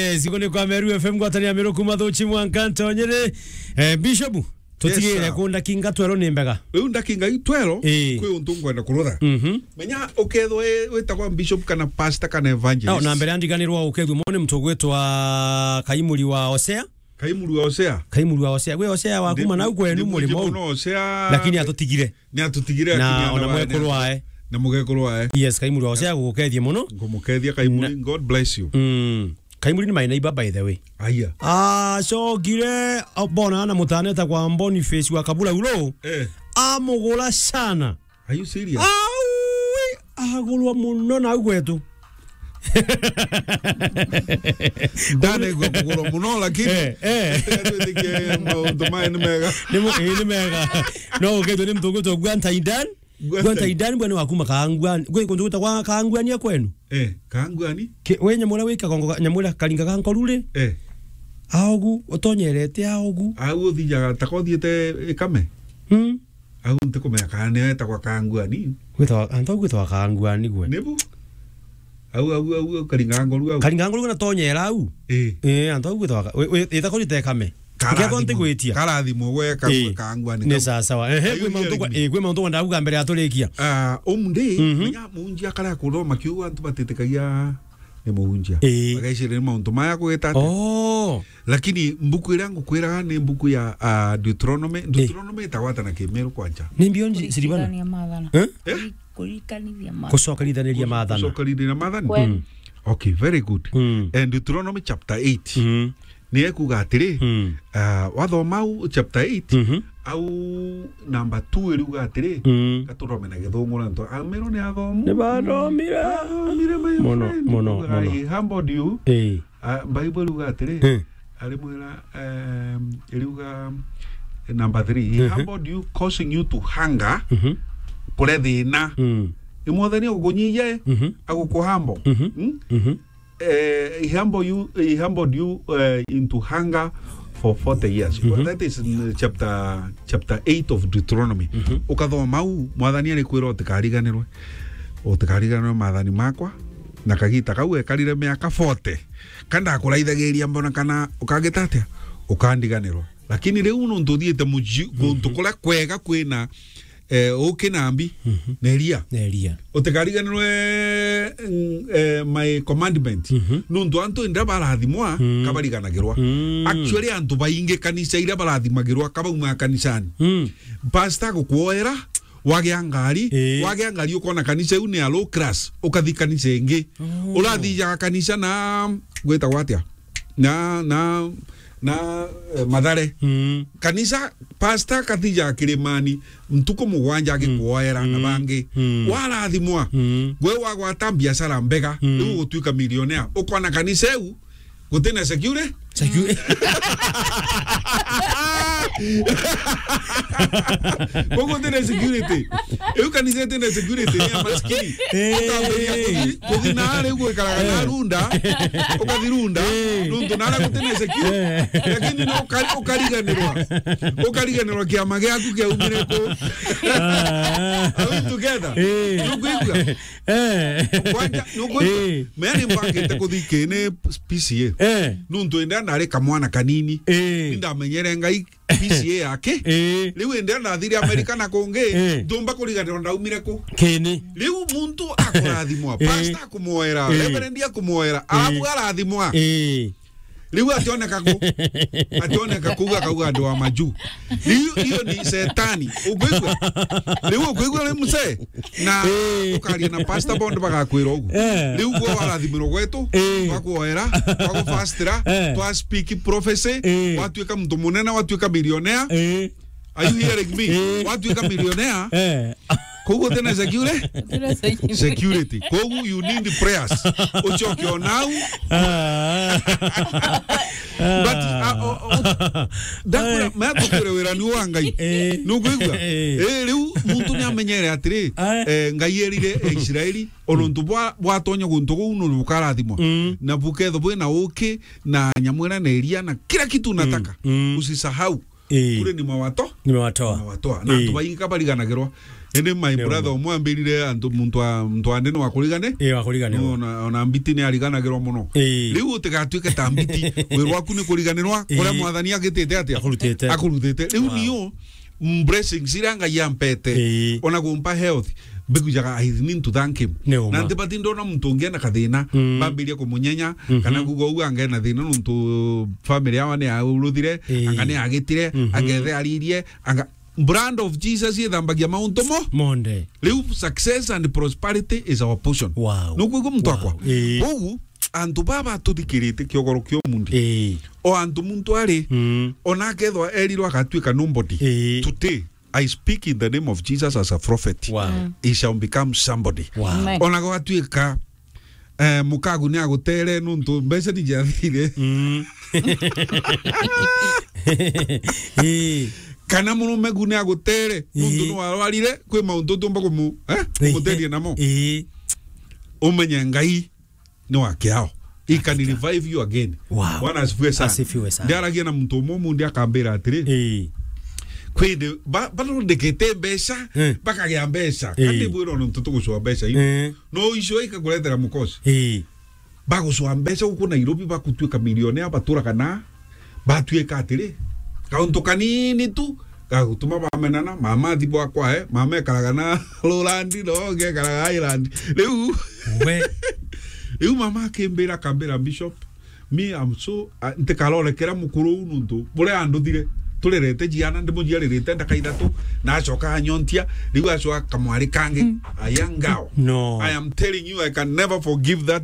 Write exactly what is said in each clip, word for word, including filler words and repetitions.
Yes, iguni kwa Meru F M, ngwataniro ya Meru kuma Thuchi mwanka Ntonyere. Eh, Bishop, tutigire Yes, sir. ku ndakinga twero ni mbega. Riu ndakinga i twero, Ii. kwi untu ngwenda kurutha. Mhm. Menya, ukethwa wi-, witagwa bishop kana pastor kana evangelist. No, na mbere andiganirwa ukethwa mone mtu gwitwa Kaimuri wa Osea. Kaimuri wa Osea. Kaimuri wa Osea. Gwe Osea wa kuma nau kwenu muri mono. Osea. Lakini atutigire. Ni atutigire, na ona mwekuru wae. Na mugekuru wae. Yes, Kaimuri wa Osea gugukethie muno. Ngumukethia Kaimuri, na God bless you. Mm. Kaimuri ni my neighbor, by the way. Aya. Ah, cokire, bona na mutane etagwa Boniface wa Kabula ulo. Eh. Amugura sana. Are you serious? Aui, agurwa muno nau gwetu. Ndanaigua kugurwa muno, lakini Eh, eh. Twitikie maundu maya ni mega. Ni mo-, ii, ni mega. No, ukethwa ni mtu ugwitwa Guantaidan. Guantaidan. Guantaidan bwana wa kuma Kaanguani. Gwe kuntu gwitagwa Kaanguani a kwenu? Eh, Kaanguani? Ki-, we Nyamura wi Kagongo ga-, Nyamura Karinga ga Nkoru ri? Eh. Aogu, utonyerete aogu. Au uthijaga ta kothiete Ikame? Mm. Au ntikumenya kana nio etagwa Kaanguani. Gwitagwa, antu au gwitagwa Kaanguani gwe. Nibu? Au, au, au, au, Karinga Nkoru au. Karinga Nkoru na tonyera au? Eh. Eh, antu au gwitagwa ka-, we, we, ita kori te Kame. Karathimo. Ntikwigwitia. Karathimo we ka-, Ii. Kaanguani. Ni kau. Sawa sawa. Ehe, kwi mauntu kwa, ii, kwi mauntu kwa ndauga mbere ya turikia. Ah, umdi, mhm, menya muunjia kara kuthoma kiu antu batitikagia ni muunjia. Ii. Bagaicira ni mauntu maya gwita atia. Oh. Lakini mbuku iria ngukwiraga ni mbuku ya, ah, Deuteronomy. Ii. Deuteronomy itagwata na Kimeru kwanja. Ni mbio nji-, Siribana? Kuringithania maathana. Eh? Eh? Kuri-, kurikanithia maathana. Gucokanithaniria maathana. Gucokanithaniria maathana? Kwe- Mm. Okay, very good. Mm. And Deuteronomy chapter eight. Mm. Ni ekuga atiri, Mm. ah, wathoma au chapter eight, Mhm. au number two iriuga atiri, Mm. gaturome na githungu na nto. Amero ni athomu. Ni bathomire. Bathomire, my Muno, friend. Muno, muno. I humbled you. Ii. Ah, Bible iriuga atiri, Eh. arimwira, em, iriuga, eh, number three, he Mhm. humbled you, causing you to hunger, Mhm. kure thina. Mm. Ni Mwathani agukunyihia, eh, Mhm. agukuhambo. Mhm. Mm? Mhm. Eh, he humbled you, he humbled you, eh, into hunger for forty years. Mhm. That is in chapter, chapter eight of Deuteronomy. Mhm. Ukathoma au, Mwathani arikwira utikariganirwe. Utikariganirwe maathani makwa, na kagita kau ekarire miaka forty. Ka ndakuraithagiria mbona kana ukagita atia? Ukandiganirwa. Lakini riu nuntu uthiite muji-, guntu Mhm. kuria kwega kwina, eh, uki na mbi, Mhm. na iria. Na iria. Utikariganirwe, mm, eh, my commandment. Mhm. Nuntu antu inda barathimwa, Mm. kabariganagirwa. Mm. Actually, antu baingi kanisa iria barathimagirwa, kabaumaga kanisani. Mm. Pastor gukuoera, wagia ngari, Ii. wagia ngari ukona kanisa iu ni a low class, ukathi kanisa ingi. Oh. Urathijaga kanisa na, gwitagwa atia? Na, na, na, eh, Mathare. Mm. Kanisa, pastor akathijaga Kirimani, ntuku mugwanja agikuoera na Mm. bangi. Mm. Warathimwa. Mm. Gwe wagwata biashara mbega, Mm. riu ugutuika millionaire. Ukona kanisa iu, gutina security? Security. Koguo gutina security. Iu kanisa itina security, ni ya maskini. Eh. Ukambiria kuthi, kuthi na ari gwikaraga na Eh. runda, ukathi runda, Eh. nuntu na ari gutina security. Eh. Lakini no uka-, ukariganirwa. Ukariganirwa kiama giaku kiaumire ku. Ah. Are we together? Eh. Nukwigua? Eh. Kwanja, nukwigua? Eh. Mea ni mbangite kuthi kini P C A. Eh. Nuntu indi ndari kamwana kanini. Eh. Nindamenyere Ngai P C A yake. Eh. Riu indi ndathire Amerika na kungi, Eh. ndumba kuriganirwa ndaumire ku. Kini. Riu muntu akurathimwa, Eh. pastor akumwoera, Eh. reverend akumwoera, Eh. arabu arathimwa. Eh. Riu ationeka ku. Ationeka ku, akauga andu a maju. Riu iyo ni setani. Ukwigua? Riu ukwigua ri mzee? Na Eh. ukaria na pastor bond bagakwira ugu. Eh. Riu gwe warathimirwo gwetu, Eh. twakuoera, twagufastira, Eh. twa speak prophecy, Eh. watuika muntu munene, watuika millionaire. Eh. Are you hearing me? Eh. Watuika millionaire. Eh. Koguo tena security? Tena security. Security. Koguo you need prayers. Uchoke onau. Ah. But, ah, o, o, ndakura, Eh. maya tukure wira ni wa Ngai. Eh. Nukwigua? Eh. Eh, riu muntu ni amenyere atiri, Eh. eh, Ngai erire Israeli, o nuntu bwa, bwatonya guntu guu nuntu bukarathimwa. Mm. Na bukethwa bwina uki, na nyamwira na iria, na kila kitu unataka. Mm. Usisahau. Ii. Kuri nimewatoa. Nimewatoa. Nimewatoa. Na Ii. Antu baingi ka bariganagirwa. Indi my Nio. Brother umwe ambirire antu, muntu wa, muntu wa ndini wa kurigane. Ii, wa kuriganirwa. No, ona, ona mbiti ni ariganagirwa muno. Ii. Riu utigatuike ta mbiti. Wira waku ni kuriganirwa, Ii. Kuria Mwathani agitite atia? Akurutite. Akurutite. Riu Wow. Niu, mm, blessings iria Ngai ampete. Ii. Ona kumpa health. Mbikujaga, I need to thank him. Ni uma. Na ntibati ndona muntu ungi ena kathina, Mm. bambiria kumunyenya, Mhm. kana kuuga uu anga ena thina nontu family yawa ni auruthire, Ii. anga ni agitire, Mhm. anga ethe aririe, anga, blood of Jesus ithambagia mauntu mo. Monde. Riu success and prosperity is our portion. Wow. Nukwigua muntu Wow. Akwa? Ii. Koguo, antu baba tuthikirite kiogoro kia umundi. Ii. O antu muntu ari, Mm. ona akethwa erirwe agatuika nobody. Ii. Today, I speak in the name of Jesus as a prophet. Wow. Mm. He shall become somebody. Wow. Amen. Ona gwatuika, eh, mukagu ni agutere nuntu mbeca ni ciathire. Mm. Ii. Kana murume gu ni agutere nuntu Ii. Ni warwarire, kwi mauntu utiumba kumu-, eh, Ii. Kumuteria namo. Ii. Umenye Ngai ni wa kiao. He can Hakika. Revive you again. Wow. Bwana asifiwe sana. Asifiwe sana. Ndiaragia na muntu umwe umundi akambira atiri, Ii. Kwindi, ba-, baro ndekete mbeca, Eh. Bakagia mbeca. Ii. Kandi bwira nontu tugucua mbeca iu. Eh. No icio ikakuretera mukosi. Ii. Bagucua mbeca guku Nairobi, bakutuika milionea, baturaga na Batuika atiri, kauntu kanini tu, gagutuma bamenana, mama athi bwakwa, eh, mama ekaraga na Lowland, no, ngekaraga Highland. Riu, We. Riu mama akimbira, akambira, "Bishop, me, I'm so, ah, ntikarorekera mukuru uu nuntu buria anduthire, turerete ciana, ndimuciaririte ndaka ithatu, na acoka anyontia, riu acoka kamwari kangi, Mm. A young girl." No. I am telling you, I can never forgive that.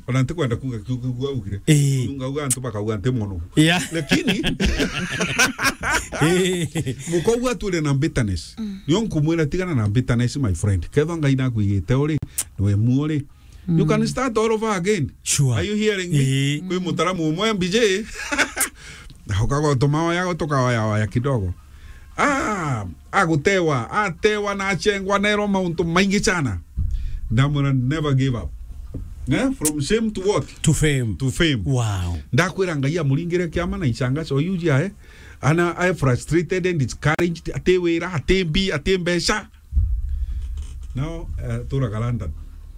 Ona ntikwenda kuuga kiu, kiu, kiu augire. Ii. Ngauga antu bakauga nti mono. Yeah. Lakini, Ii. Mukougua atwire na bitterness. Mm. Nio nkumwira tigana na bitterness, my friend. Kethwa Ngai nakwigite uri, niwe muo ri. You can start all over again. Sure. Are you hearing me? Ii. Kwi mutaramu umwe M B J. Na ukaga utumaoya, tukaoya oya kidogo. Ah, agutewa, atewa na achengwa, nerwa mauntu maingi sana. Ndamwira, never give up. Eh? From shame to what? To fame. To fame. Wow. Ndakwira Ngai amuringire kiama na icanga, so you jia, eh? Ana, I frustrated and discouraged, ati wira, ati mbi, ati mbeca. Now, eh, turaga London.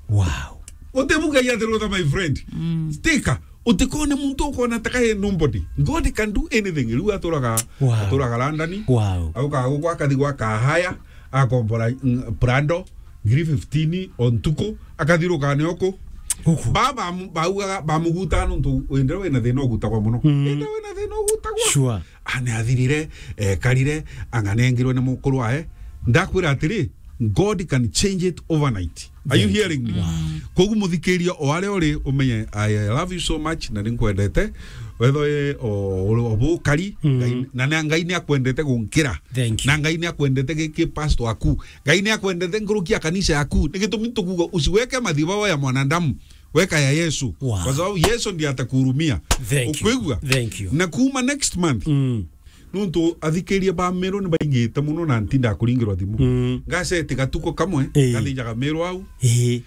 Wow. Uti mugai ati rutha, my friend. Mm. Stika. Utikone muntu ukona taka e nobody. God can do anything. Riu aturaga, Wow. Aturaga London. Wow. Auka guku akathi gwa kahaya, akombora, mm, Prado, ngiri fifteen o ntuku, akathiruka ni uku. Uku. Baba mu-, baugaga, bamuguta nuntu wende wina thina ugutagwa muno. Mm. Wende wina thina ugutagwa. Sure. Ane athirire, ekarire, ang'anengirwe ni mukuru wae. Ndakwira atiri, God can change it overnight. Are you Thank you. Hearing me? Wow. Kogu muthikiria o aria uri umenye, I love you so much, na ninkwendete. Wetho ye o, o, o bukari, Mm. Ngai, na, na Ngai ni akwendete gunkira. Thank you. Na Ngai ni akwendete giki pastor aku. Ngai ni akwendete nkuruki ya kanisa yaku. Ni gitumi tukuga usiweke madhabahu ya mwanadamu. Weka ya Yesu. Wow. Kwa sababu Yesu ndiye atakuhurumia. Thank you. Ukwigua? Thank you. Na kuma next month, Mm. Nuntu athikiria ba Meru ni baingite muno na ntinda kuringirwa thimu. Mm. Ngaseti gatuko kamwe, Ii. Ngathijaga Meru au. Ii.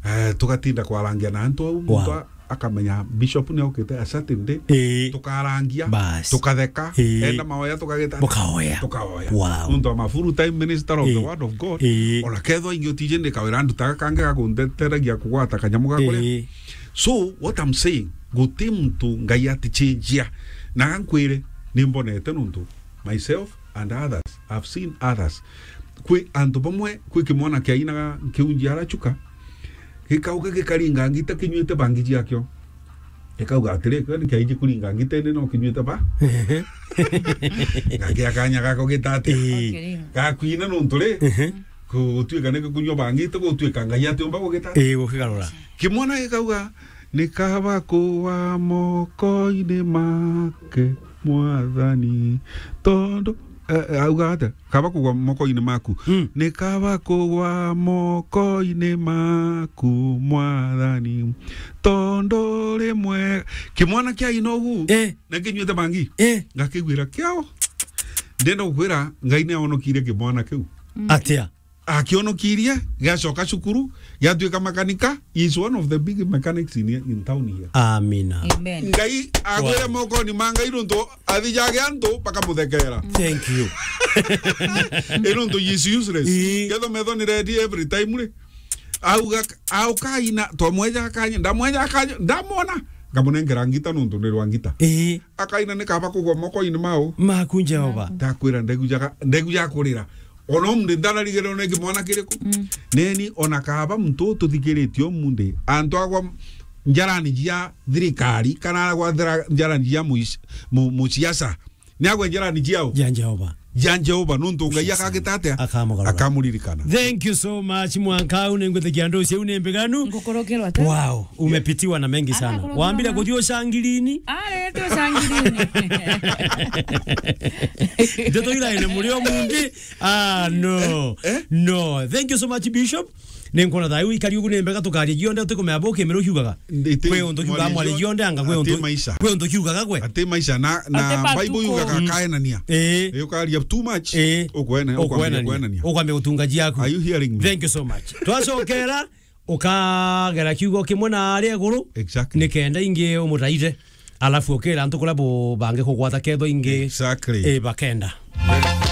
Eh, tugatinda kwarangia na antu au, Wow. Muntu a-, akamenya bishop ni okite a certain day. Ii. Tukarangia, Bas. Tukatheka, Ii. Enda maoya tukageta. Mukaoya. Tukaoya. Wow. Nuntu I'm a full time minister of the Ii. Word of God. Ii. Ona kethwa ingi utije ndikawira ndutaga kangi ga kundeteragia kugwata kanyamu ga kuria. Ii. So, what I'm saying, guti muntu Ngai atichenjia. Na nkwire, nimbonete nuntu myself and others, I've seen others. Kwi antu bamwe, kwi kimwana kiainaga nkiunji arachuka, gikauga gikaringa ngita kinyuite bangi ciakio. Gikauga atiri, "Kio ni kiaiji kuringa ngita indi no kinyuite ba?" Gakia kanya gako gita atia? Ii. Gakwina nuntu ri? Ehe. Gutuika ni gikunyua bangi, ti gutuika Ngai atiumba gugita. Ii, gukigarura. Kimwana gikauga, "Ni kaba kugwa moko-ini make, Mwathani, tondu," eh, eh, auga atia? "Kaba kugwa moko-ini maku." Mm. "Ni kaba kugwa moko-ini maku, Mwathani, tondu uri mwega." Kimwana kiaina ugu, Eh. Na kinyuite bangi. Eh. Ngakigwira kiao. Ndenda gukwira, Ngai ni aonokire kimwana kiu. Mm. Atia? Akionokirie, giacoka cukuru, giatuika makanika. He is one of the big mechanics in, in town here. Amina. Amen. Ngai agwire Wow. mokoni ma Ngai nontu athi jage antu bakamuthekera. Thank you. Ino ntu is useless. Ii. Ketho metho ni ready every time ri. Auga, aukaina, twamweja akanya, ndamweja akanya, ndamwona. Ngamunengera ngita nontu ni rwa ngita. Ii. Akaina ni kaba kugwa moko-ini mau. Maku Jehova. Ndakwira ndegu jaka, ndegu ya kurira. Ona umri ndanarigirwo ni kimwana kiriku. Mm. Neni ona kaba muntu tuthikiritie umundi. Antu agwa njarani jia thirikari, kana agwa thira-, njarani jia muis-, mu-, musiasa. Ni agwe njarani jiao. Ja Jehova. Ja Jehova, nuntu Ngai akagita atia? Akamugarura. Akamuririkana. Thank you so much, Mwankau. Ningwitikia ndu ciu ni mbiganu. Ngukorokerwa ta? Wow, umepitiwa na mengi sana. Akakorokerwa Wambire na kuthio shangirini. Ah, rete shangirini. Ndeto ira ine muri o mundi. Ah, no. Eh? No. Thank you so much, Bishop. Ni nkwona thayu ikari ugu ni mbega tukaria gionde, utikumenya bo kimero kiugaga. Iti Kwi untu kiugaga mwaria mwari gionde, anga kwi ati untu, maisha. Kwi untu kiugaga gwe. Ati maisha na, na Ati Bible matuku. Yugaga Mm. kaenania. Eh. Yukaria too much. Eh. Ukwena, ukwambia Ukwenania. Kwenania. Ukwambia utungaji yaku. Are you hearing me? Thank you so much. Twacokera, ukagera kiugo kimwe na aria iguru. Exactly. Nikenda ingi umutaite. Alafu ukira antu kuria bo bangi kugwata ketho ingi. Exactly. Eh, bakenda.